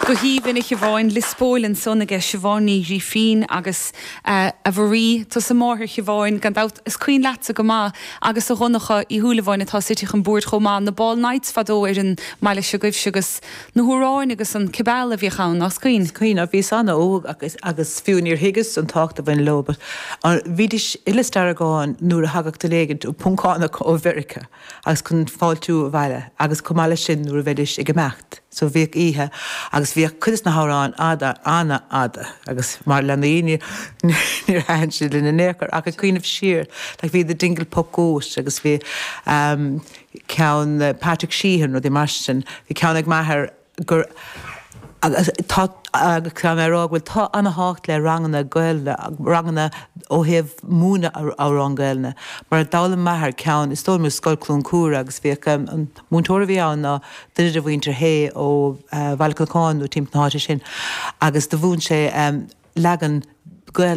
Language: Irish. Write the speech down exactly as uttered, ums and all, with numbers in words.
Go haoibhinn, a Shiobháin. Lios Póil ansan aige Siobhán Ní Ghrifín agus uh, a Mharie, tusa máthair Shiobháin, gan dabht is cuimhin leatsa go maith agus a Dhonncha Uí Shúilleabháin atá suite chun bord chomh maith na Ball Nights fadó ar an mbaile seo agaibhse agus na hamhráin agus an cibeal a bhíodh ann, as cuimhin. Cuimhin, bhíos an-óg agus agus fiú níor thuigeas an tábhacht a bhain leo, but bhídís i Lios Deargáin nuair a thagadh duine éigin ó Poncánach ó Mheiriceá agus chun fáiltiú abhaile agus chomh maith leis sin nuair a bheidís ag imeacht. So bhíodh oíche agus bhíodh cuid na hamhráin fhada an-fhada agus mar leanaí níor thaitin siad linn in aon chor ach ag cuimhneamh siar, like bhí the Dingle Puck Goat agus bhí um, ceann uh, Patrick Sheehan rudaí mar sin, bhí ceann ag m'athair gur agus tá agus tá mé rá bhfuil tá an-tábhacht le ranganna Gaeilge ranganna ó thaobh múineadh amhrán Gaeilge mar a d'fhoghlaim m'athair ceann is dóigh liom Scoil Cluain Cúra agus bhíodh um, an múinteoir a bhí ann ná duine de mhuintir Hay ó uh, Bhaile Chnocáin nó timpeall na háite sin agus do mhúin sé um, leagan Gaeilge